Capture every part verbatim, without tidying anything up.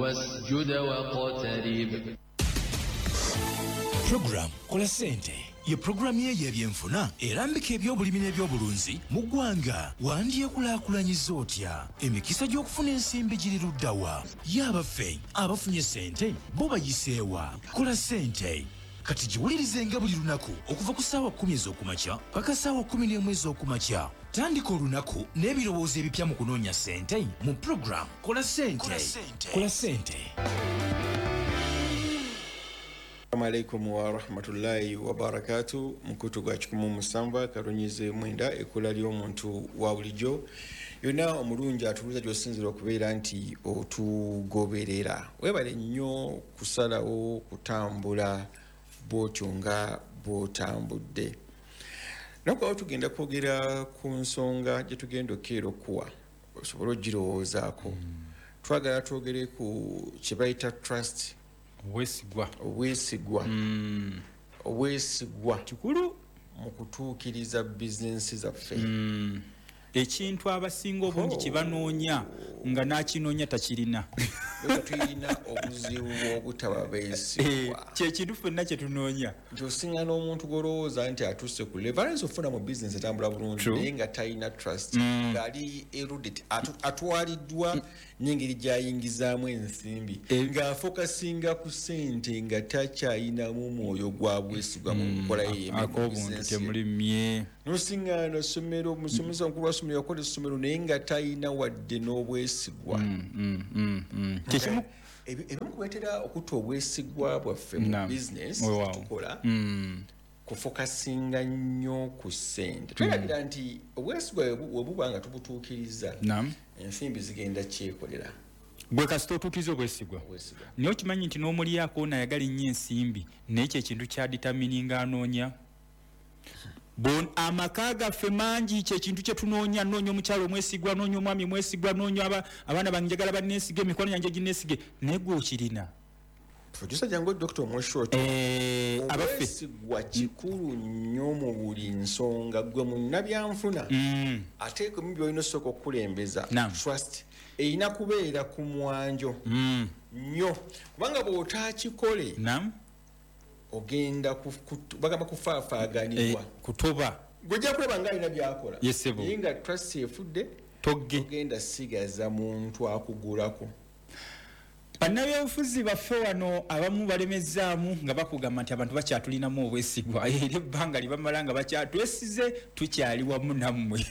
واسجد واقترب. Program Kola Sente ye puroguramu ye y'ebyenfuna erambika ebyobulimi n'ebyobulunzi mu ggwanga. Wandyekulaakulanyiza otya? Emikisa gy'okufuna ensimbi giri ludda wa? Ye abaffe abafunye ssente bo bayiseewa? Kola Ssente kati giwulirizenga buli lunaku okuva ku ssaawa kkumi ez'okumakya paka ssaawa kkumi n'emu ez'okumakya. Tandika olunaku n'ebirowoozo ebipya mu kunoonya ssente mu puroguramu Kola Ssente. Kola Ssente. Assalamu alaikum wa rahmatullahi wa barakatu. Mukutu gwa kikumu musanvu akalonyize mwenda, ekkula ly'omuntu wa bulijjo yonna omulungi atubuuza gy'osinziira okubeera nti otugoberera. Weebale nnyo kusalawo kutambula bw'otyo nga bw'otambudde. Naku awo tugenda kwogera ku nsonga gye tugenda okukeera okuwa osobole ogirowoozaako. Twagala twogere ku kye bayita trust, obwesigwa. Obwesigwa, obwesigwa kikulu mu kutuukiriza bizinensi zaffe. Mm. Ekintu abasinga obungi Oh. kye banoonya nga n'akinoonya takirina. Bwe tulina obuzibu bw'obutaba Eh, beesigwa. Kyekintu ffenna kye tunoonya. Nti osinga n'omuntu gw'olowooza nti atuuse ku level, ayinza okufuna mu bizinensi etambula bulungi, True. naye nga talina trust, Mm. ng'ali eluded, atu- atwaliddwa n'engeri gy'ayingizaamu ensimbi, Eh. ng'afokasinga ku ssente, nga takyayinamu mwoyo gwa bwesigwa mu nkola ye y'emirimu, Ak'obuntu bizinensi ye. temuli mmye. N'osiŋŋaana essomero, omusomesa omukulu wa ssomero yakola essomero, naye nga talina wadde n'obwesigwa. Mm, mm, mm, mm. Kyekimu Ebi- ebimu kuleetera okutta obwesigwa bwaffe mu Naam. bizinensi Weewaawo. tukola, Mm. kufokasinga nnyo ku ssente. Twerabira nti obwesigwa we bu- we buba nga tubutuukiriza, Naam. ensimbi zigenda kyekolera. Gwe kasita otuukiriza obwesigwa. Obwesigwa. Naye okimanyi nti n'omulyako ono ayagala ennyo ensimbi, naye kye kintu kya determininga anoonya. Bon, amaka gaffe mangi kyekintu kye tunoonya. Noonya omukyala omwesigwa, noonya omwami omwesigwa, noonya aba, abaana bange njagala banneesige, emikwano gyange gineesige, naye gwe okirina? Producer, jangu Dokita Omweshoti. Eh, abaffe. Obwesigwa kikulu nnyo mu buli nsonga. Gwe munnabyanfuna, Mm. ate ku byolina osooka okukulembeza, Naam. trust erina kubeera ku mwanjo Mm. nnyo, kubanga bw'otaakikole, Naam. ogenda ku- ku- bagamba kufaafaaganibwa. Eh, kutoba. Gwe ojja kulaba nga alina byakola, Yes, sebo. naye nga trust efudde, Togge. ogenda sigaza muntu akugulako. Bannabyabufuzi baffe wano abamu balemezaamu nga bakugamba nti abantu bakyatulinamu obwesigwa, era ebbanga lye bamala nga bakyatwesize, tukyali wamu nammwe.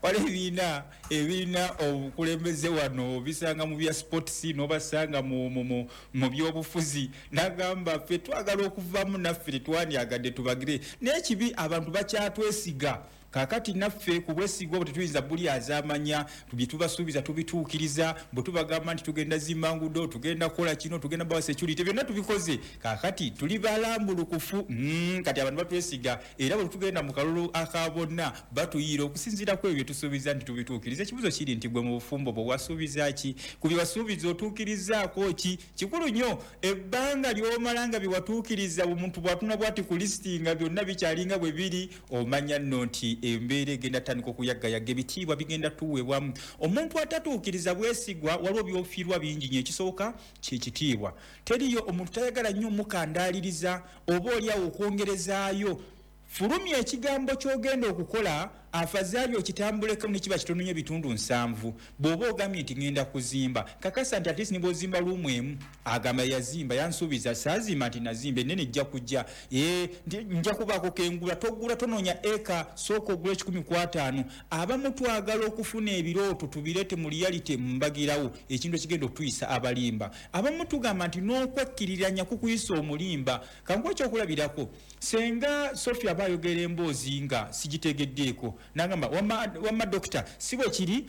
Waliwo ebibiina ebirina obukulembeze wano, bisanga mu bya sports, n'obasanga mu, mu, mu, mu byobufuzi, n'agamba ffe twagala okuvaamu, naffe tetwandyagadde tubagire, naye kibi abantu bakyatwesiga. Kaakati naffe ku bwesigwa obwo tetuyinza buli azaamanya, bye tubasuubiza tubituukiriza. Bwe tubagamba nti tugenda zimba nguudo, tugenda kukola kino, tugenda bawa security, byonna tubikoze, kaakati tuli balambulukufu. mm, kati abantu batwesiga, era bwe tugenda mu kalulu aka bonna batuyiira okusinziira ku ebyo bye tusuubiza nti tubituukiriza. Ekibuuzo kiri nti gwe mu bufumbo bwe wasuubiza ki? Ku bye wasuubiza otuukirizaako ki? Kikulu nnyo ebbanga ly'omala nga bye watuukiriza, omuntu bw'atunula bw'ati ku lisiti nga byonna bikyalinga bwe biri, omanya nno nti embeera egenda tandika okuyaggayaga, ebitiibwa bigenda tuweebwamu. Omuntu atatuukiriza bwesigwa, waliwo by'ofiirwa bingi nnyo. Ekisooka kyekitiibwa. Teriyo omuntu tayagala nnyo mukandaaliriza oba oliawo okwongerezaayo. Fulumya ekigambo ky'ogenda okukola, afazaali okitambuleko ne kiba kitono nnyo ebitundu nsanvu. Bw'oba ogambye nti ŋŋenda kuzimba, kakasa nti at least ne bw'ozimba luumu emu, agamba yazimba, yansuubiza, saazimba nti nazimba, ennene ejja kujja. Eh, nti nja kubaako kengula. Togula, tonoonya eka, sooka ogula ekikumi ku ataano. Abamu twagala okufuna ebirooto tubireete mu reality mbagirawo, ekintu ekigenda okutuyisa abalimba. Abamu tugamba nti n'okwekkiriranya kukuyisa omulimba. Kankuwe ekyokulabirako, senga Sophia aba ayogera emboozi nga sigitegeddeeko, nagamba wamma, wamma dokita, si bwe kiri?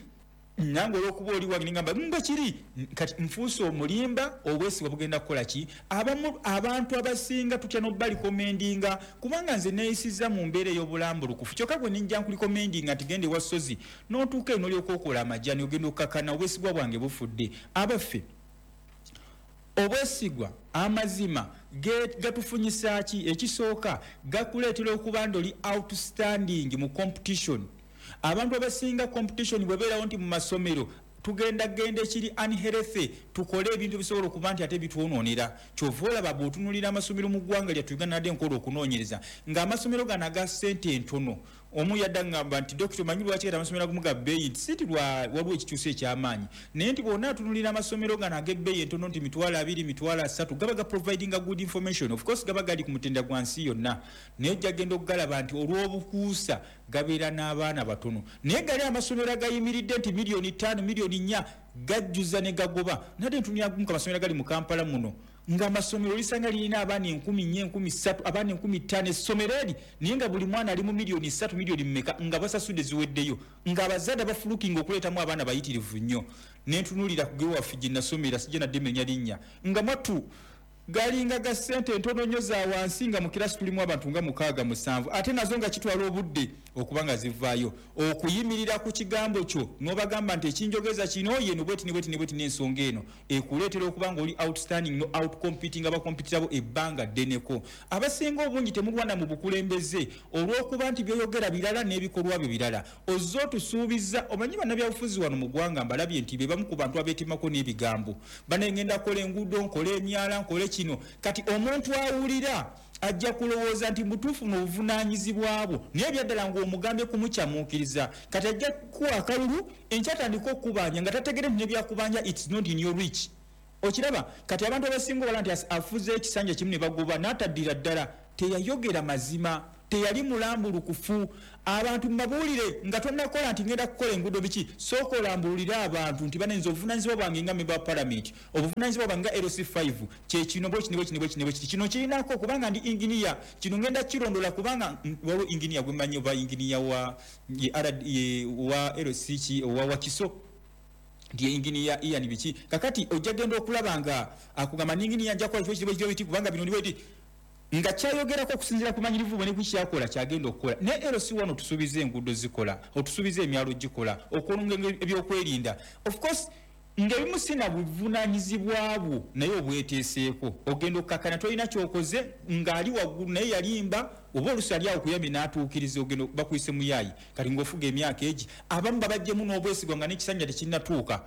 Nange olw'okuba oli wange nengamba bwe kiri. Kati nfuuse omulimba. Obwesigwa bugenda kukola ki? Abamu, abantu abasinga tutya n'obalikommendinga, kubanga nze neeyisizza mu mbeera ey'obulambulukufu, kyokka gwe ninja nkulikomendinga nti genda ewa Sozi, n'otuuka eno n'olyoka okola amajjani, ogenda okukakana obwesigwa bwange bufudde. Abaffe, obwesigwa, amazima gatufunyisa ki? Ekisooka, gakuleetera okuba nti oli outstanding mu competition. Abantu abasinga competition bwebeerawo nti mu masomero Tugenda genda ekiri unhealthy, tukole ebintu bisobola okuba nti ate bitwonoonera. Kyova olaba bw'otunuulira amasomero mu ggwanga lyattu Uganda, nadde nkola okunoonyereza ng'amasomero gano aga ssente entono. Omu yadda ngamba nti, "Dokita, omanyi lwaki kati amasomero agamu ga bbeeyi?" Nti si ti waliwo ekikyusa ekyamaanyi, naye nti bw'onna atunuulira amasomero gano ag'ebbeeyi entono nti mitwalo abiri, mitwalo asatu, gaba ga providinga good information. Of course gaba gali ku mutendera gwa nsi yonna, naye ojja genda okugalaba nti olw'obukuusa gabeera n'abaana batono. Naye gali amasomero agayimiridde nti miliyoni ttaano, miliyoni nnya, gajjuza ne gagoba. Nadde ntunulira gumu ku amasomero gali mu Kampala muno, ng'amasomero lisanga lirina abaana enkumi nnya, enkumi ssatu, abaana enkumi ttaano essomero eri, naye nga buli mwana ali mu miliyoni ssatu, miliyoni mmeka, nga basasudde ziweddeyo, ng'abazadde abafulukinga okuleetamu abaana bayitirivu nnyo. Nentunuulira ku gewaffe gye nasomera, sijja nadde menya linnya, nga mwattu galinga ga ssente entono nnyo za wansi, nga mu kirasi tulimu abantu nga mukaaga, musanvu, ate nazo nga kitwala obudde okuba nga zivaayo. Okuyimirira ku kigambo kyo n'obagamba nti ekinjogeza kino yeno bweti ne bweti ne bweti, n'ensonga eno ekuleetera okuba nga oli outstanding, no outcompeting abakompitira bo ebbanga ddeneko. Abasinga obungi temulwana mu bukulembeze olw'okuba nti byoyogera birala n'ebikolwa byo birala. Ozze otusuubiza, omanyi bannabyabufuzi wano mu ggwanga mbalabye nti be bamu ku bantu abeetemako n'ebigambo. Banengenda kukola enguudo, nkole emyala, nkole kino. Kati omuntu awulira ajja kulowooza nti mutuufu n'obuvunaanyizibwa bwo, naye byaddala ng'omugambye kumukyamuukiriza. Kati ajja kuwa akalulu, enkya atandika okukubanja nga tategere nti nebyakubanja it's not in your reach. Okiraba kati abantu abasinga obala nti afuze ekisanja kimu ne bagoba, n'ataddira ddala teyayogera mazima, teyali mulambulukufu. Abantu mbabuulire nga tonnakola nti ngenda kukola enguudo biki, sooka olambululire abantu nti banenza obuvunanyizibwa bwange nga member wa parliament, obuvunanyizibwa bwange nga L C five kyekino, bwekini bwekini bwekini bwekiti, kino kirinako kubanga ndi inginiya, kino ngenda kirondola kubanga waliwo inginiya gwemanyi oba inginiya wa wa L C ki owa Wakiso nti inginiya Ian biki. Kakati ojja genda okulaba nga akugamba ninginiya nja kukola kino kino biti kubanga bino ndi nga kyayogerako okusinziira ku manyirivu bwe ne kukyakola kyagenda okukola. Naye L C wano otusuubiza enguudo zikola, otusuubiza emyalo gikola, okulunga ebyokwerinda, of course ng'ebimu sina buvunaanyizibwa bwo, naye obweteeseeko ogenda okukkakkana tolina kyokoze ng'ali waggulu naye yalimba, oba oluusi ali awo kuyambi n'atuukiriza, ogenda bakuyise muyaayi. Kati ng'ofuga emyaka egi, abamu babajjemu n'obwesigwa nga n'ekisanja tekinnatuuka.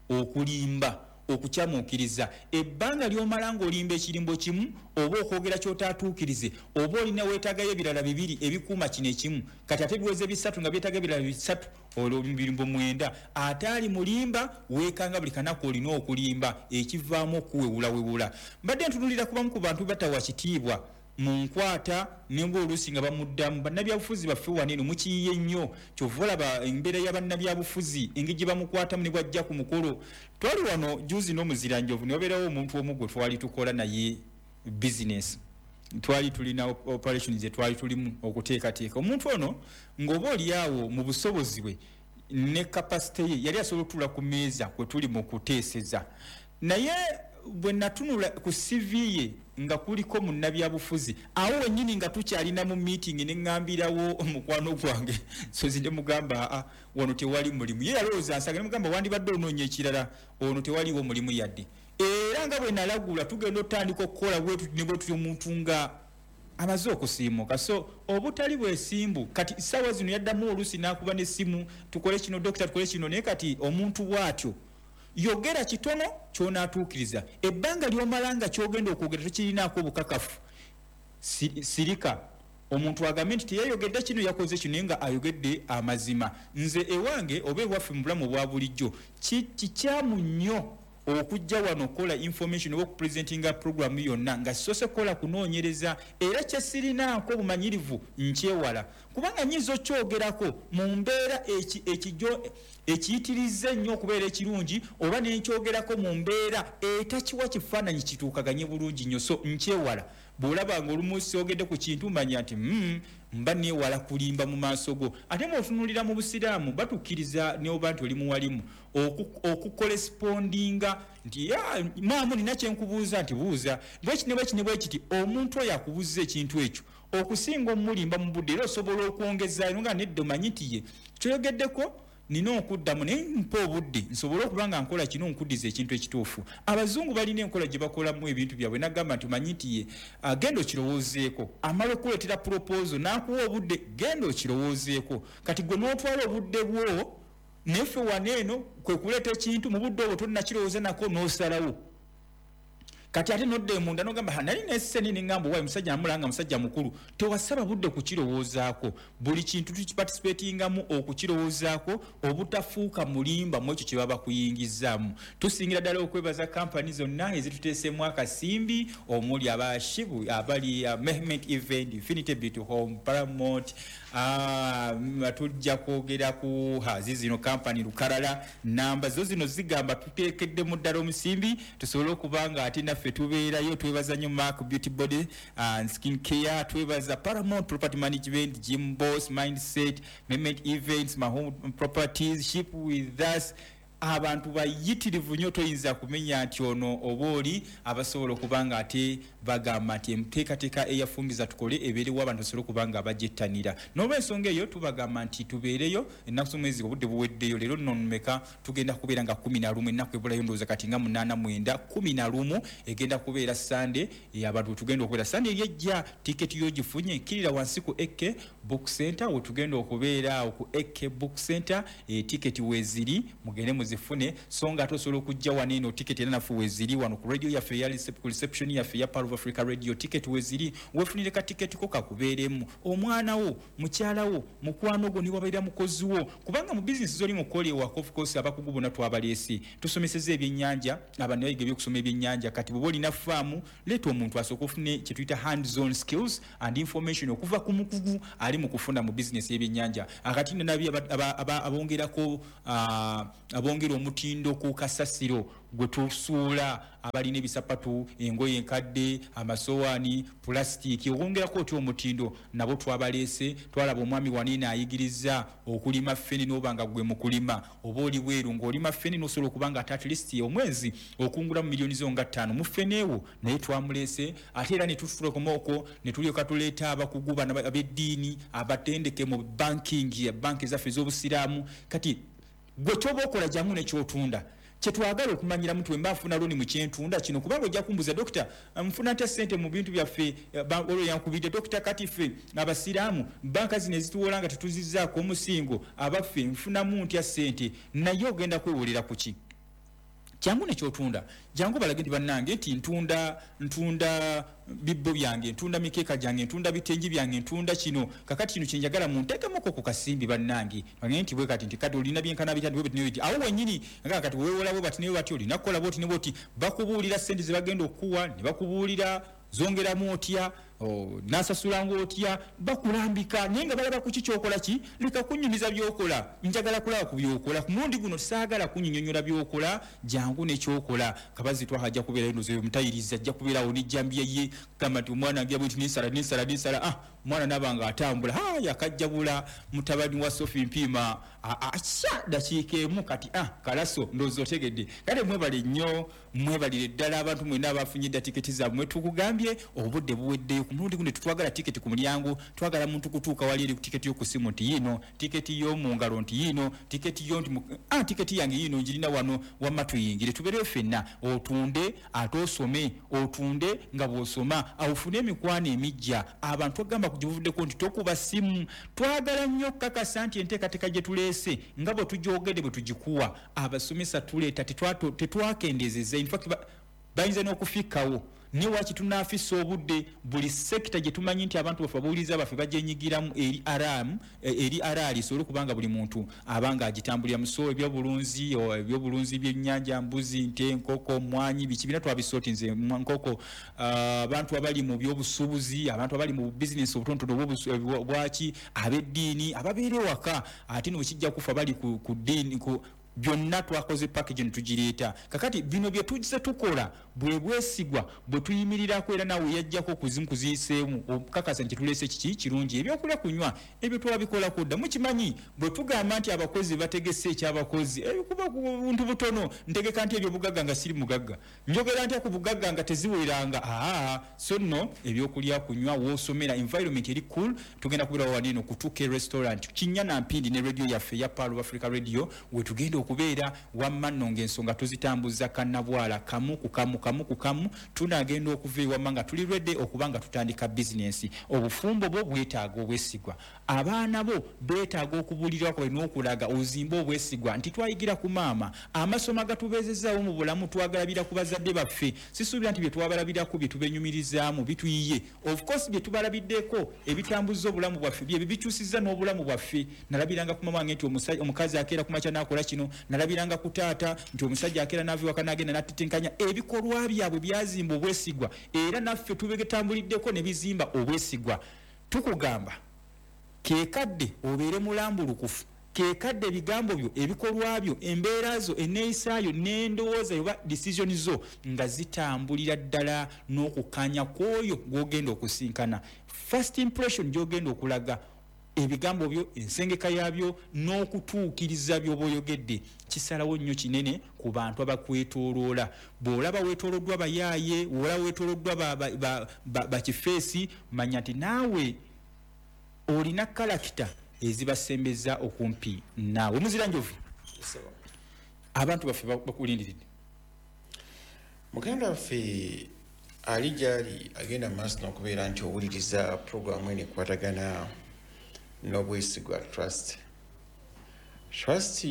Okulimba, okukyamuukiriza, ebbanga ly'omala ng'olimba ekirimbo kimu oba okwogera ky'otaatuukirize, oba olina weetaagayo ebirala bibiri ebikuuma kino ekimu. Kati ate biweze bisatu nga byetaaga ebirala bisatu, olwo birimbo mwenda. Ate ali mulimba weekanga buli kanaku olina okulimba, ekivaamu okuwewulawewula. Mbadde ntunulira kubamu ku bantu batawa kitiibwa mu nkwata nenga oluusi nga bamuddamu. Bannabyabufuzi baffe wano eno mukiyiye nnyo, kyova olaba embeera ya bannabyabufuzi engeri gye bamukwatamu ne bwajja ku mukolo. Twali wano juzi n'omuziranjovu, ne wabeerawo omuntu omu gwe twali tukola naye bizinesi, twali tulina operation ze twali tulimu okuteekateeka. Omuntu ono ng'oba oli awo mu busobozi bwe ne capacity ye yali asobola okutuula ku mmeeza kwe tuli mu kuteeseza, naye bwe natunula ku C V ye nga kuliko munnabyabufuzi, awo wennyini nga tukyalina mu meeting ne ŋŋambirawo omukwano gwange sozi ne mugamba, "Aa, wano tewali mulimu." Ye yalowooza nsaga, ne mugamba, "Wandibadde onoonya ekirala, ono tewaliwo mulimu yadde." Era nga bwe nalagula tugenda otandika okukola bwetuti ne bwetuti, omuntu nga amaze okusiimuka. So obutali bwesimbu kati saawa zino yaddamu oluusi n'akuba n'essimu, "Tukole kino dokita, tukole kino." Naye kati omuntu bw'atyo, yogera kitono ky'onaatuukiriza. Ebbanga ly'omala nga ky'ogenda okwogera tokirinaako obukakafu, sirika. Omuntu agambe nti teyayogedde kino, yakoze kino, naye nga ayogedde amazima. Nze ewange oba ewaffe mu bulamu obwa bulijjo kikyamu nnyo okujja wano okukola information oba okupresentinga programu yonna nga sisoose kukola kunoonyereza, era kyesirinaako obumanyirivu nkyewala, kubanga nyinza okyogerako mu mbeera ekiyitiriza ennyo okubeera ekirungi, oba nenkyogerako mu mbeera etakiwa kifaananyi kituukaganye bulungi nnyo. So nkyewala. Bw'olaba nga olumu syogedde ku kintu, manya nti mm, mba neewala kulimba mu maaso go. Ate bw'otunuulira mu busiraamu, batukkiriza neoba nti oli muwalimu okukorespondinga nti, "Maamu, nina kyenkubuuza." Nti, "Buuza." Bweki ne bweki ne bwekiti, omuntu oyo akubuuza ekintu ekyo okusinga omulimba mu budde, era osobola okwongezaayo nga nedda omanyi nti ye kyoyogeddeko nina okuddamu, naye mpa obudde nsobole okuba nga nkola kino, nkuddiza ekintu ekituufu. Abazungu balina enkola gye bakolamu ebintu byabwe, nagamba nti omanyi nti ye genda okirowoozeeko, amala okuleetera proposal n'akuwa obudde, genda okirowoozeeko. Kati gwe n'otwala obudde bwo Neffe waneeno kwe kuleeta ekintu mu budde obwo tonnakirowooza nako n'osalawo. Kati ate nodda munda n'ogamba nali neseni n'eŋŋamba waayi musajja namulanga musajja mukulu. Tewasaba budde kukirowoozaako. Buli kintu tukiparticipatingamu okukirowoozaako obutafuuka mulimba mu ekyo kye baba bakuyingizaamu. Tusingira ddala okwebaza kampani zonna ezituteeseemu akasimbi omuli aba Shibu, abali uh, Mehmet Event, Infinity Beauty Home, Paramount, uh, tujja kwogera ku zino kampani lukalala namba zo zino zigamba tuteekeddemu ddala omusimbi tusobole okuba nga ate naffe tubeerayo. Twebaza nnyo Mark Beauty Body and Skin Care, twebaza Paramount Property Management, Jim Boss, Mindset, Mehmet Events, Mahome Properties, Ship With Us. Abantu bayitirivu nnyo toyinza kumenya nti ono oba oli abasobola okuba nga ate bagamba nti enteekateeka eyafungiza tukole ebeerewo abantu basobole okuba nga bagyettanira. N'olwensonga eyo tubagamba nti tubeereyo ennaku z'omwezi obudde buweddeyo. Leero nno mmeka tugenda kubeera nga kumi na lumu, ennaku ebulayo ndowooza kati nga munaana mwenda, kumi na lumu egenda kubeera Sande. Abantu tugenda okubeera Sande eri ejja, tiketi y'ogifunye kkirira wansi ku A K Book Center we tugenda okubeera awo ku A K Book Center, e, tiketi weeziri mugende muzifune. So nga ate osobola okujja wano eno tiketi era naffe weeziri wano ku radio yaffe eya ku reception yaffe ya Pearl of Africa Radio, tiketi weeziri weefunire ka tiketi ko kakubeeremu omwana wo, mukyala wo, mukwano gwo, niwabeera mukozi wo, kubanga mu bizinesi z'oli mukola ewaka of course abakugu bonna twabaleese. Tusomesezza ebyennyanja, abantu bayiga ebyokusoma ebyennyanja. Kati bw'oba olina faamu leeta omuntu asooke ofune kye tuyita hands on skills and information okuva ku mukugu ali mu kufuna mu bizinesi y'ebyennyanja. Akati nabi abongerako abongera omutindo ku kasasiro gwe tusuula, abalina ebisapatu, engoye enkadde, amasowaani, pulasitiiki, okwongerako otya omutindo nabo twabaleese. Twalaba omwami waniina ayigiriza okulima ffene n'oba nga gwe mu kulima oba oli bweru ng'olima ffene n'osobola okuba nga ate at least omwezi okungula mu miliyoni zo nga ttaano mu ffene ewo, naye twamuleese. Ate era ne tutulekoma okwo ne tulyoka tuleeta abakugu bano ab'eddiini abatendeke mu banking, banki zaffe ez'obusiraamu. Kati gwe kyoba okola jangu ne ky'otunda. Kyetwagala okumanyiramu nti wemba nfuna looni mu kyentunda kino, kubanga ojja kumbuuza dokita nfuna ntya ssente mu bintu byaffe, olwo yankubidde dokita kati ffe abasiraamu banka zino ezituwola nga tetuzizzaako omusingo abaffe nfunamu ntya ssente, naye ogenda kwewolera ku ki? Jangu ne ky'otunda, jangu balage nti bannange nti ntunda ntunda bibbo byange, ntunda mikeeka gyange, ntunda bitengi byange, ntunda kino, kakati kino kye njagala munteekemuko ku kasimbi bannange. Bagende nti bwe kati nti kati olina byenkana bitya nti bwe biti ne bwe biti, awo wennyini nga kati weewola bwe bati ne bwe bati, olina kukola bw'oti ne bw'oti, bakubuulira ssente ze bagenda okukuwa ne bakubuulira zongeramu otya, nasasulanga otya, bakulambika naye nga balaba ku ki ky'okola ki. Leka kunnyumiza by'okola, njagala kulaba ku by'okola. Ku mulundi guno saagala kunnyonyola by'okola, jangu ne ky'okola. Kabazi twaha ajja kubeerayo ndowooza omutayirizi ajja kubeerawo n'ejjambiya ye, gamba nti omwana ngira bwe nti nensala nensala nensala, ah omwana naaba nga atambula, ha yakajjabula mutabani wa Sophie Mpiima akya dakiika emu kati ah kalaso ndowooza otegedde. Kale mwebale nnyo, mwebalire ddala abantu mwenna abafunye dda tiketi zammwe. Tukugambye obudde buweddeyo. Ku mulundi guno tetwagala tiketi ku mulyango, twagala muntu kutuuka wali eri tiketi y'oku ssimu nti yiino, tiketi y'omu ngalo nti yiino, tiketi yo nti ah tiketi yange yiino ngirina wano, wamma tuyingire tubeereyo ffenna. Otunde ate osome, otunde nga bw'osoma, ofune emikwano emiggya. Abantu agamba ku gyebuvuddeko nti tokuba ssimu. Twagala nnyo okukakasa nti enteekateeka gye tuleese nga bwe tugyogedde bwe tugikuwa abasomesa tuleeta tetwakendezeza, in fact bayinza n'okufikkawo. Ne waki tunaafisa obudde buli sekita gye tumanyi nti abantu baffe ababuuliza baffe bagyenyigiramu eri aramu eri araali esobole okubanga buli muntu abanga agitambulira. So ebyobulunzi, ebyobulunzi by'ennyanja, mbuzi, nte, nkoko, mwanyi, biki bina twabisootinze nkoko. Abantu abali mu byobusuubuzi, abantu abali mu bizinesi obutonotono bwaki, ab'eddiini ababeera ewaka, ate no kijja kufa bali ku ddiini ku byonna twakoze package ne tugireeta. Kakati bino bye tujja tukola bwe bwesigwa bwe tuyimirirako, era naawe yajjako kuzimu kuziyiseemu okukakasa nti tuleese kiki kirungi. Ebyokulya kunywa ebyo twabikolako dda, mukimanyi bwe tugamba nti abakozi bategese ekyabakozi ebikuba ku buntu butono. Ntegeka nti ebyobugagga nga siri mugagga, njogera ntya ku bugagga nga teziweranga. Aa so nno ebyokulya kunywa w'osomera environment eri cool. Tugenda kubeerawo wano eno ku two K restaurant Kinnya na Mpindi ne radio yaffe ya Pearl of Africa Radio we tugenda okubeera wamma nno ng'ensonga tuzitambuza kannabwala kamu ku kamu kamu ku kamu, tunagenda okuva ewamma nga tuli ready okuba nga tutandika bizinensi. Obufumbo bwo bwetaaga obwesigwa, abaana bo beetaaga okubulirwako n'okulaga ozimbe obwesigwa nti twayigira ku maama, amasomo agatubeezezaawo mu bulamu twagalabira ku bazadde baffe. Sisuubira nti bye twabalabirako bye tubenyumirizaamu bituyiye. Of course bye tubalabiddeko ebitambuza obulamu bwaffe bye bikyusizza n'obulamu bwaffe. Nalabiranga ku mama wange nti omukazi akeera ku makya n'akola kino, nalabiranga ku taata nti omusajja akeera n'ava ewaka n'agenda n'atetenkanya. Ebikolwa byabwe byazimba obwesigwa, era naffe tubegetambuliddeko ne bizimba obwesigwa. Tukugamba kekadde obeere mulambulukufu, kekadde ebigambo byo, ebikolwa byo, embeera zo, enneeyisaayo n'endowooza oba decision zo nga zitambulira ddala n'okukkaanya kw'oyo gw'ogenda okusinkana. First impression gy'ogenda okulaga ebigambo byo, ensengeka yabyo n'okutuukiriza by'oba oyogedde kisalawo nnyo kinene ku bantu abakwetooloola. Bw'olaba weetooloddwa bayaaye, bw'olaba weetooloddwa bakifeesi, manya nti naawe olina kalakita ezibasembeza okumpi naawe. Muzira Njovu, abantu baffe bakulindiridde. Muganda waffe ali gyali agenda maaso n'okubeera nti owuliriza puroguramu eno ekwatagana n'obwesigwa trust. Trust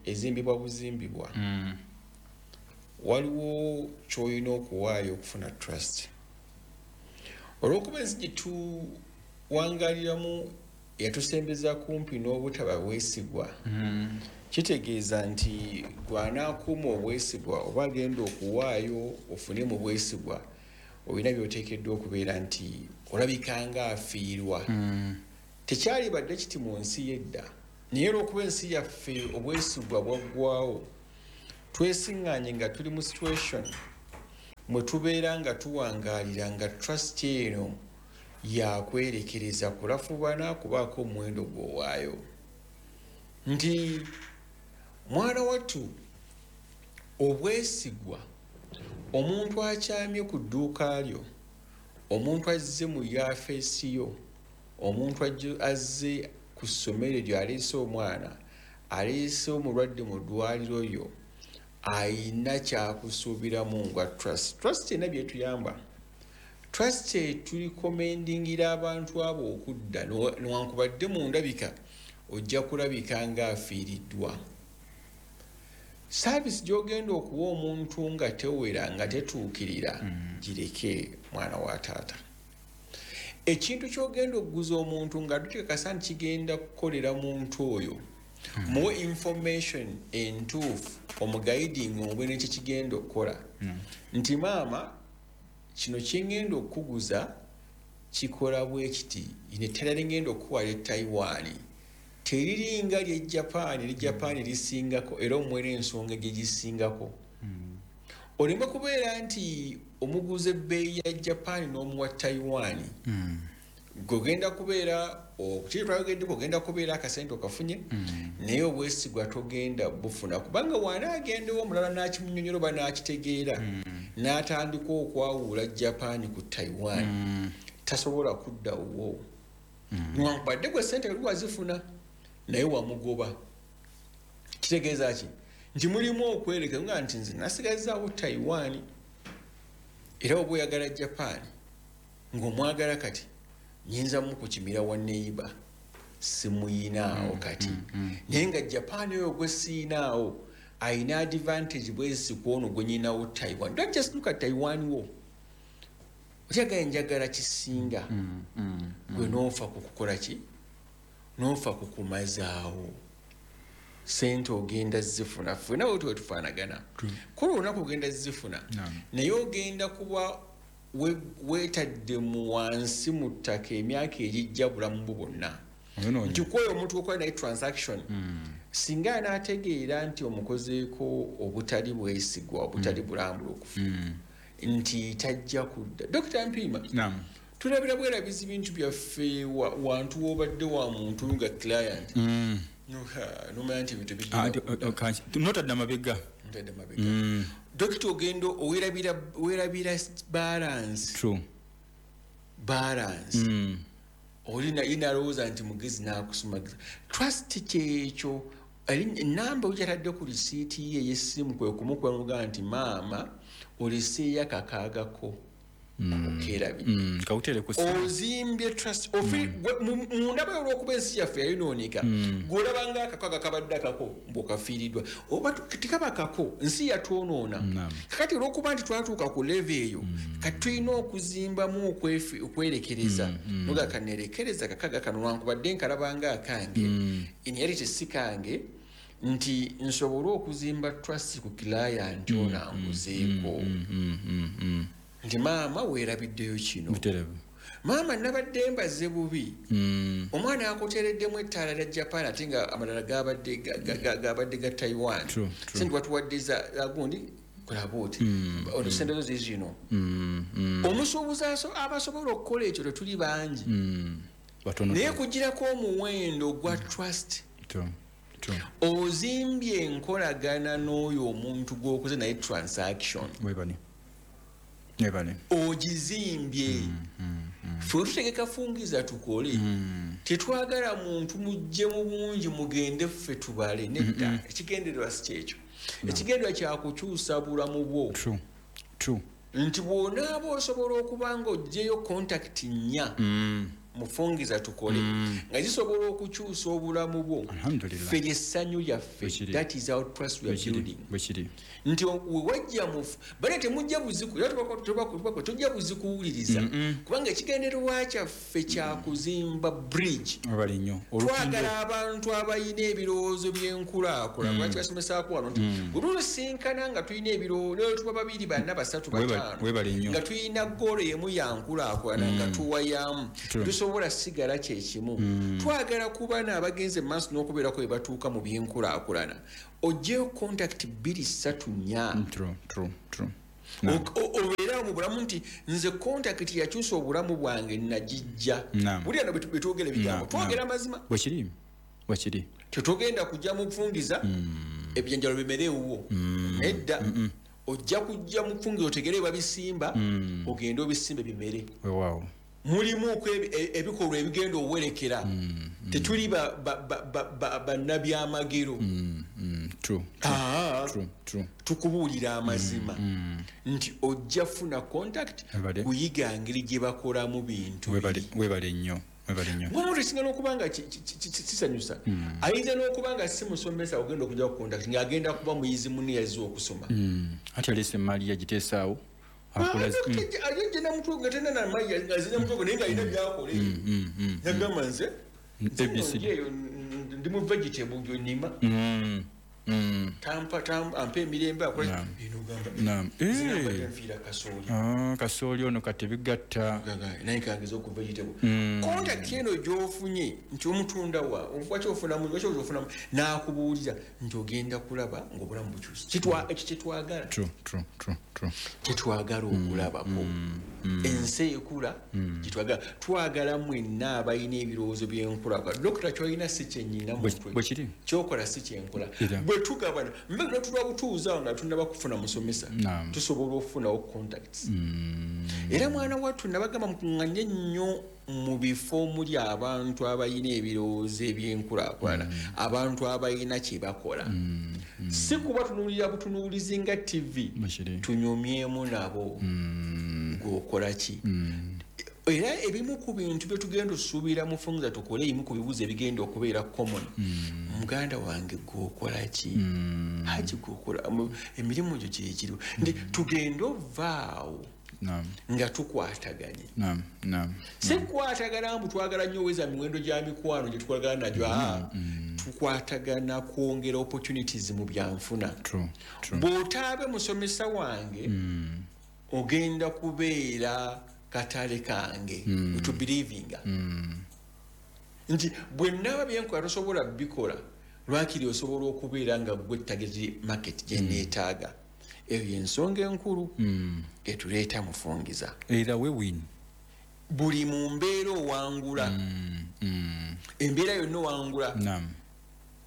ezimbibwa buzimbibwa. Mm. Waliwo ky'olina okuwaayo okufuna trust. Olw'okuba ensi gye tuwangaliramu yatusembeza kumpi n'obutaba bwesigwa, mm. kitegeeza nti gw'anaakuuma obwesigwa oba agenda okuwaayo ofune mu bwesigwa, olina by'oteekeddwa okubeera nti olabika ng'afiirwa. Mm. Tekyali badde kiti mu nsi y'edda, naye olw'okuba ensi yaffe obwesigwa bwaggwawo, twesiŋŋaanye nga tuli mu situation mwe tubeera nga tuwangaalira nga trust eno yakwerekereza kulafubana kubaako omuwendo gw'owaayo. Nti mwana wattu obwesigwa, omuntu akyamye ku dduuka lyo, omuntu azze mu yafeesi yo, omuntu azze ku ssomero lyo aleese omwana, aleese omulwadde mu ddwaliro lyo, ayina kyakusuubiramu nga trust. Trust erina byetuyamba. Trust tulikomendingira abantu abo okudda, newankubadde mu ndabika ojja kulabika ng'afiiriddwa. Service gy'ogenda okuwa omuntu nga tewera nga tetuukirira, mm. gireke mwana wa taata. Ekintu ky'ogenda okuguza omuntu nga tukikakasa nti kigenda kukolera muntu oyo, mm. muwe information entuufu, omuguiding omubwe n'ekyo kigenda okukola. Mm. Nti maama kino kyengenda okukuguza kikola bwe kiti, ine ettala lingenda okukuwa lye Taiwan teriringa lye Japan, lye Japan lisingako era omuwe n'ensonga gye gisingako. Mm. Oleme kubeera nti omuguza ebbeeyi ya Japan n'omuwa Taiwan. Mm. Gogenda kubeera kiri twayogeddeko, ogenda kubeera akasente okafunye, mm. naye obwesigwa togenda bufuna, kubanga w'anaagendewo omulala n'akimunyonyola oba n'akitegeera, mm. n'atandika okwawula Japan ku Taiwan, mm. tasobola kudda wo. Mm. Newankubadde gwe ssente kali wazifuna naye wamugoba. Kitegeeza ki? Nti mulimu okwereka nga nti nze nasigazaawo Taiwan, era oba oyagala Japan ng'omwagala kati nyinza mukukimira wa neighbor simuyinaawo kati, naye nga Japan oyo gwe siinaawo ayina advantage bwezi ku ono gwe nyinawo Taiwan. Don't just look at Taiwan wo, otyagala njagala kisinga, gwe n'ofa ku kukola ki, n'ofa ku kumazaawo sente ogenda zifuna. Ffenna bwe tuba tufaanagana, kola olunaku ogenda zifuna, naye ogenda kuba weetadde mu wansi mu ttaka emyaka egijja bulamu bwo bwonna. Nti kwoyo omuntu okola naye transaction, singa anaategeera nti omukozeeko obutali bwesigwa, obutali bulambulukufu, nti tajja kudda. Dokita Mpiima, tulabira bwerabizi bintu byaffe wantu w'obadde wa muntu nga client, nomanya nti ebintu notadde amabega. Ntadde mabega. Dokita ogenda weerabira balance. True. Balance. Oli nalowooza nti mugezi n'akusumagiza. Trust kyekyo. Namba ojatadde ku risiiti ye ey'essimu kwe kumukuba nti maama oleseeyo akakaagako okerabidde. Ozimbye trust mundaba olw'okuba ensi yaffe yayonooneka gw'olaba nga akakaaga kabadde akako mbw'okafiiriddwa oba tekaba kako nsi yatwonoona. Kakati olw'okuba nti twatuuka ku level eyo kati tulina okuzimbamu okwerekereza noga kaneerekereza akakaaga kano lwankubadde nkalaba nga akange in reality si kange nti nsobole okuzimba trust ku client ono anguzeeko. Nti maama weerabiddeyo kino. Maama nabadde mbaze bubi. Omwana akuteereddemu ettaala lya Japan ate nga amalala gabadde gabadde ga Taiwan. Sente watuwadde za gundi kolaba oti ono sente zo zizino. Omusuubuzi abasobola okukola ekyo tetuli bangi. Naye kugirako omuwendo gwa trust. Ozimbye enkolagana n'oyo omuntu gw'okoze naye transaction. Ogizimbye. Ffe tutegeka fungiza tukole. Tetwagala muntu mujje mu bungi mugende ffe tubale nedda. Ekigendererwa si kyekyo. Ekigendererwa kya kukyusa bulamu bwo. Nti bw'onaaba osobola okuba nga oggyeyo contact nnya mufungiza tukole nga zisobola okukyusa obulamu bwo. Ffe ly'essanyu lyaffe. That is our trust we are building. Nti wewajja mufu bale temujja buziku tojja buzikuwuliriza kubanga ekigendererwa kyaffe kya kuzimba bridge. Twagala abantu abalina ebirowoozo by'enkulaakulana. Lwaki basomesaako wano nti bwe tusinkana nga tulina ebirowoozo tuba babiri bana basatu bataano nga tulina goolo emu ya nkulaakulana nga tuwayamu tusobola sigala kyekimu. Twagala kuba n'abagenze maaso n'okubeerako bwe batuuka mu by'enkulaakulana. Oggyeyo contact bbiri ssatu nnya. Obeera mu bulamu nti nze contact yakyusa obulamu bwange nagijja. Buli ano bwe twogera ebigambo twogera amazima. Tetugenda kujja mu kufungiza ebyenjalo bimere ewuwo. Nedda. Ojja kujja mu kufungiza otegere babisimba ogende obisimbe bimere. Mulimu ebikolwa ebigenda owerekera. Tetuli bannabyamagero. Tukubuulira amazima nti ojja funa contact kuyiga ngeri gye bakolamu bintu. Webale nnyo. Omuntu ekisinga n'okuba nga kisanyusa ayinza n'okuba nga si musomesa ogenda okujja ku contact ng'agenda kuba muyizi munne yazze okusoma. Ate aleese emaali yagiteesaawo. Agenda mutwe nga tena na mayi ngazina mutwe naye ng'alina by'akola. Yagamba nze ndi mu vegetable gy'onnima. Tampa tam ampe emirembe akola bino gamba. Nze nfiira kasooli. Ah, kasooli ono kati bigatta. Naye kangeza ku vegetable. Contact eno gy'ofunye nti omutunda wa lwaki ofunamu lwaki ofunamu n'akubuulira nti ogenda kulaba ng'obulamu bukyuse. Kitwa ekyo kye twagala. True, true, true, true. Kye twagala okulabako. Ensi ekula kye twagala. Twagala mwenna abalina ebirowoozo by'enkulaakulana. Dokita ky'olina si kye nnyina mutwe. Bwe kiri. Ky'okola si kye nkola. Bwe tugabana mbega tulwa butuuza nga tunnaba kufuna musomesa tusobola okufunawo contacts. Era mwana wattu nabagamba mukuŋŋanye nnyo mu bifo omuli abantu abalina ebirowoozo ebyenkulaakulana, abantu abalina kye bakola. Si kuba tunuulira butunuulizi nga T V, tunyumyemu nabo gw'okola ki. Era ebimu ku bintu bye tugenda osuubira mu fungiza tukole ebimu ku bibuuzo ebigenda okubeera common. Muganda wange gw'okola ki? Haji gw'okola emirimu gyo gye giriwo. Nti tugende ovaawo nga tukwataganye. Si kukwatagana mbu twagala nnyo oweza miwendo gya mikwano gye tukolagana nagyo, tukwatagana kwongera opportunities mu byanfuna. Bw'otaabe musomesa wange ogenda kubeera katale kange to believinga nti bwe naba byenkola tosobola bikola lwakiri osobola okubeera nga gwe target market gye neetaaga. Eyo y'ensonga enkulu etuleeta mufungiza. Either we win. Buli mu mbeera owangula. Embeera yonna owangula.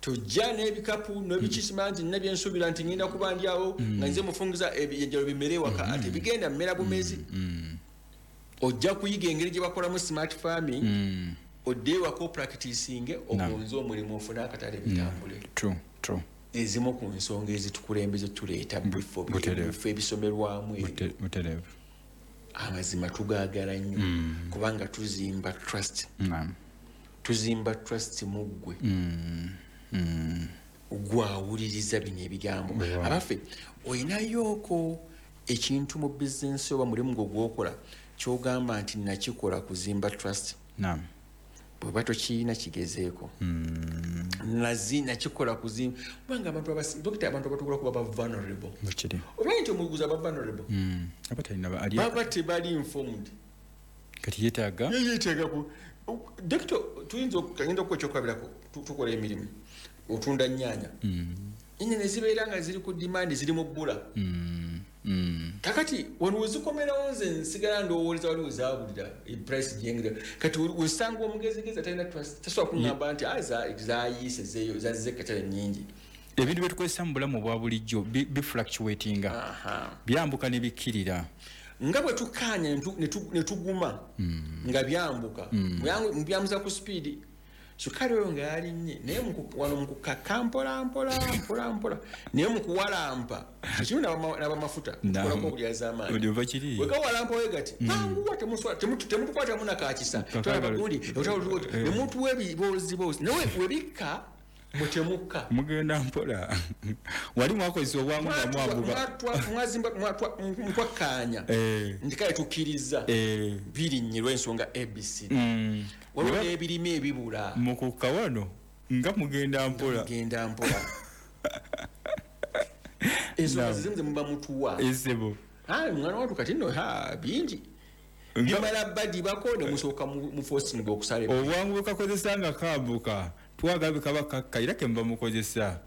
Tojja n'ebikapu n'ebikisima nti nina byensuubira nti ngenda kuba ndi awo nga nze mufungiza ebyenjalo bimere ewaka ate bigenda mmera bumezi. Ojja kuyiga engeri gye bakolamu smart farming, odde ewaka opracticinge ogonze omulimu ofune akatale bitambule. True, Ezimu ku nsonga ezitukulembeze tuleeta mu bifo bifo ebisomerwamu ebyo. Amazima tugaagala nnyo mm. kubanga tuzimba trust. Mm. Tuzimba trust mu ggwe. Mm. Mm. Gwawuliriza bino ebigambo. Yeah. Abaffe oyinayoko ekintu mu business oba mulimu gwo gw'okola ky'ogamba nti nakikola kuzimba trust. Naam. Bw'oba tokirina kigezeeko. Mm. Nazi nakikola kuzimba kubanga abantu abasi dokita abantu abatukola kuba ba vulnerable. Bukiri. Omanyi nti omuguzi aba vulnerable. Mm. Aba talina ba ali. Baba tebali informed. Kati yeetaaga? Ye yeetaaga ku dokita tuyinza okugenda okukola ekyokulabirako tukola emirimu. Otunda nnyaanya. Mm. Ennyaanya ne zibeera nga ziri ku demand ziri mu bbula. Mm. Mm. Kakati wano wezikomerawo nze nsigala ndowooleza waliwo zaabulira price gyengera. Kati osanga omugezigezi atalina trust tasobola kuŋŋamba nti zayiise zeeyo zazze katale nnyingi. Ebintu bye tukozesa mu bulamu obwa bulijjo bifluctuatinga. Byambuka ne bikkirira. Nga bwe tukkaanya ne tuguma nga byambuka. Mubyamuza ku speed. Sukari oyo nga yalinnye naye wano mu kukaka mpola mpola mpola mpola naye mu kuwalampa ekimu n'abamafuta tukolako obulyazaamaanyi bwe gawalampa we gati manguwa temutukwatamu nakakisa tulabagundi ne mutuwa ebibooziboozi naye we bikka mwe temukka mugenda mpola wali mwakozesa obwangu nga mwambuka mwazimba mwakkaanya nti kale tukkiriza birinnye lw'ensonga A B C waliwo n'ebirime ebibula mu kukka wano nga mugenda mpola mugenda mpola ensonga zimu ze muba mutuwa ezebo mwana wattu kati nno bingi bimala badibako ne musooka muforcinga okusala obwangu bwe kakozesa nga kambuka twagabe kaba kakka era ke muba mukozesa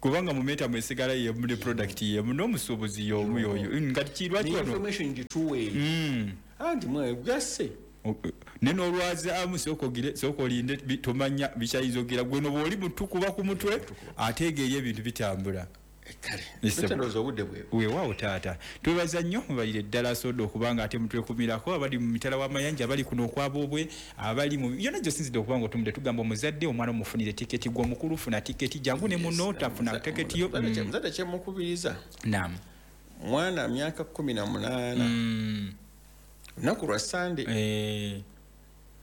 kubanga mumeta mwesigala yemu ne product yemu n'omusuubuzi y'omu yoyo nga kirwa kyono information gituwe mm. Anti mwe gase ne n'olwaza amu sooka ogire sooka olinde tomanya bikyayinza ogira gwe noba oli mutukuba ku mutwe ategeera ebintu bitambula. Kale ndowooza obudde bwe weewaawo taata twebaza nnyo mubalire ddala soda okubanga ate mutwekumirako abali mu mitala w'amayanja abali kuno okwaboobwe abali mu yonna gy'osinzidde okuba nga otumudde tugamba omuzadde omwana omufunire tiketi gwe omukulu funa tiketi jangu ne muno tafuna tiketi yo. Muzadde kyemukubiriza naam mwana myaka kumi na munaana lunaku lwa Sande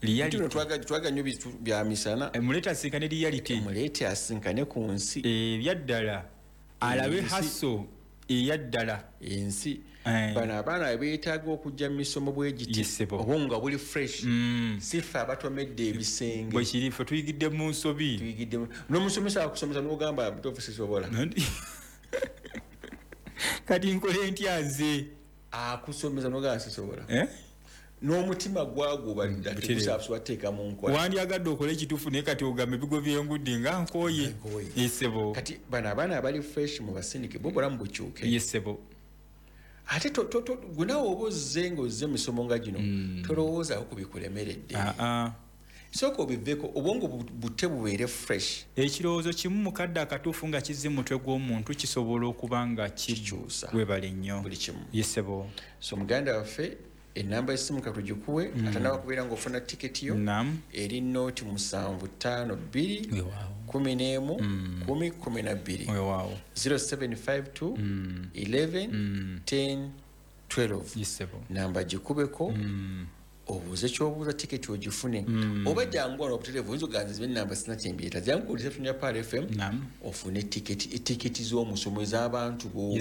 reality twaga nnyo bya misana muleete asinkane reality muleete asinkane ku nsi ebyaddala alabe haso eyaddala ensi bano abaana beetaaga okujja mu misomo bwe giti obwongo buli fresh si ffe abatomedde ebisenge bwe kiri ffe tuyigidde mu nsobi tuyigidde n'omusomesa akusomesa n'ogamba mutuufu sisobola kati nkole ntya nze akusomesa n'ogamba sisobola n'omutima gwagubalira tegusaabuswa teeka mu nkola wandyagadde okole ekituufu naye kati ogamba ebigo by'engudde nga nkooye yesebo kati bano abaana abali fresh mu basindike bo obulamu bukyuke yesebo ate gwe naawe oba ozze ng'ozze misomo nga gino tolowoozaako ku bikulemeredde sooka obiveeko obwongo bute bubeere fresh ekirowoozo kimu mu kadde akatuufu nga kizze mu mutwe gw'omuntu kisobola okuba nga kikyusa webale nnyo buli kimu yesebo so muganda waffe enamba y'essimu katugikuwe mm. atanaba kubeera ng'ofuna tiketi yo eri nooti musanvu ttaano bbiri kumi n'emu kumi kumi na bbiri zero seven five two eleven ten twelve namba gikubeko obuuze ky'obuuza tiketi ogifune oba jangu wano obutereevu oyinza oganza zibe enamba sina kyembyeta jangu ku reception ya Pearl F M ofune tiketi tiketi z'omusomo ez'abantu bo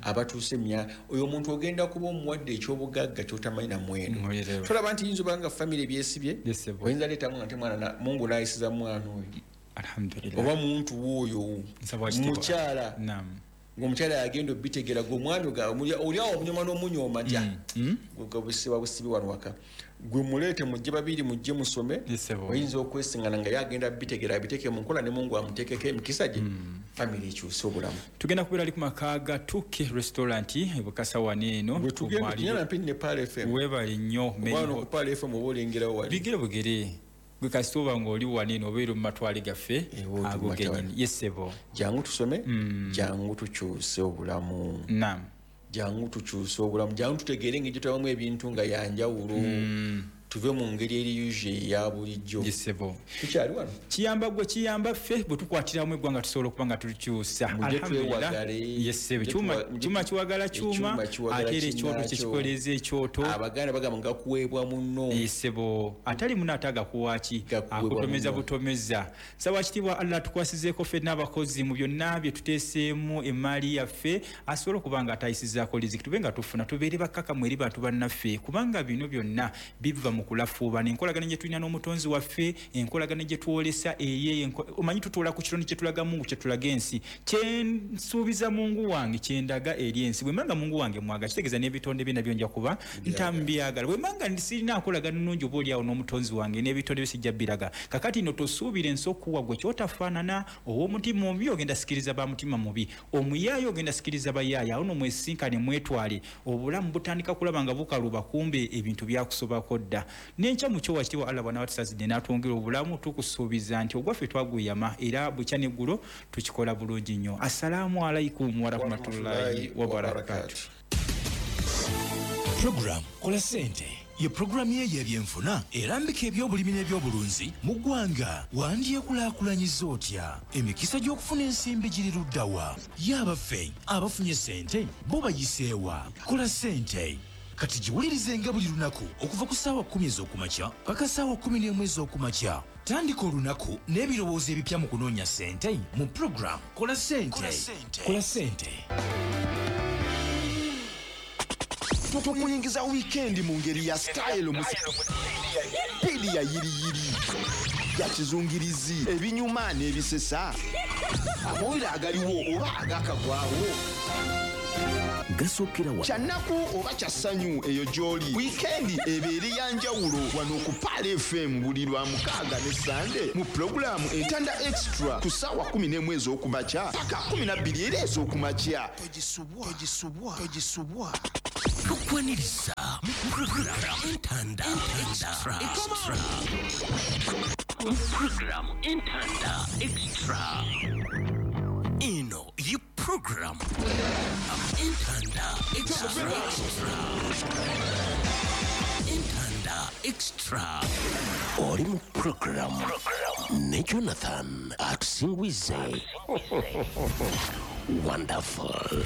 abatuuse emya oyo omuntu ogenda kuba omuwadde eky'obugagga ky'otamanyi na muwendo tolaba nti yinza obanga famire byesibye oyinza leetamu nga nti mwana Mungu n'ayisiza mwana oyo alhamdulillah oba muntu w'oyo mukyala ng'omukyala yagenda obitegera gwe omwami oli awo omunyoma n'omunyooma ntya gwe busiba busibi wano waka gwe muleete mujje babiri mujje musome oyinza okwesingana nga yagenda bitegera abiteeke mu nkola ne Mungu amuteekeko emikisa gye famire ekyuse obulamu tugenda kubeera ali ku maka ga Tuke restaurant e Bukasa wano eno bwe tugenda tunyana mpini ne Pearl F M webale nnyo wano ku Pearl F M oba olengerawo wali bigere bugere gwe kasita oba ng'oli wano eno obeera mu matwale gaffe ago gennyini yesebo jangu tusome jangu tukyuse obulamu naam jangu tukyuse obulamu jangu tutegeere engeri gye tulabamu ebintu nga yanjawulo Tuve mu ngeri eri yuje ya bulijjo. Yesebo. Tukyali wano. Kiyamba gwe kiyamba ffe bwe tukwatiramu eggwanga tusobola okuba nga tulikyusa. Alhamdulillah. Yesebo. Kyuma kyuma kiwagala kyuma ate era ekyoto kyekikoleza ekyoto. Abaganda bagamba nga kuweebwa munno. Yesebo. Atali munno ate agakuwa ki? Akutomeza butomeza. Nsaba kitiibwa Allah tukwasizeeko ffenna abakozi mu byonna bye tuteeseemu emmaali yaffe asobole okuba nga atayisizaako riziki tube nga tufuna tubeere bakkakamu eri bantu bannaffe kubanga bino byonna biva mu kulafuubana enkolagana gye tulina n'omutonzi waffe enkolagana gye twolesa eye omanyi tutuula ku kironi kye tulaga Mungu kye tulaga ensi kye nsuubiza Mungu wange kye ndaga eri ensi bwe mbanga Mungu wange mwaga kitegeeza n'ebitonde bye nabyo nja kuba ntambyagala bwe mbanga sirina nkolagana nnungi oba oli awo n'omutonzi wange n'ebitonde bye sijja biraga kakati nno tosuubira ensi okuwa gwe kyotafaanana ow'omutima omubi ogenda sikiriza ba mutima mubi omuyaayo ogenda sikiriza bayaaya awo no mwesinkane mwetwale obulamu butandika kulaba nga bukaluba kumbe ebintu byakusobako dda n'enkya mu kyo wakitiibwa Allah bw'anaaba n'atwongera obulamu tukusuubiza nti ogwaffe twaguyama era bukya n'eggulo tukikola bulungi nnyo. Assalaamu alaikum warahmatullahi wabarakatuh. Program Kola Ssente ye programu ye y'ebyenfuna erambika ebyobulimi n'ebyobulunzi mu ggwanga. Wandyekulaakulanyiza otya? Emikisa gy'okufuna ensimbi giri ludda wa? Ye abaffe abafunye ssente bo bayiseewa? Kola Ssente kati giwulirizenga buli lunaku okuva ku ssaawa kkumi ez'okumakya paka ssaawa kkumi n'emu ez'okumakya. Tandika olunaku n'ebirowoozo ebipya mu kunoonya ssente mu program Kola Ssente. Kola Ssente. Tukuyingiza weekend mu ngeri ya style mu pili ya yiriyiri ya kizungirizi ebinyuma n'ebisesa amawulire agaliwo oba agakagwawo gasokera wa kyannaku oba kya ssanyu eyo gy'oli. Weekend ebeere ya njawulo wano ku Pearl F M buli lwa mukaaga ne Sande mu pulogulaamu Entanda Extra ku ssaawa kkumi n'emu ez'okumakya paka kkumi na bbiri era ez'okumakya. Togisubwa, togisubwa, togisubwa. Tukwaniriza mu program Entanda Extra. Extra. Program Entanda Extra. Eno ye program Entanda Extra. Entanda Extra. Oli mu program ne Jonathan Atusingwize. Wonderful.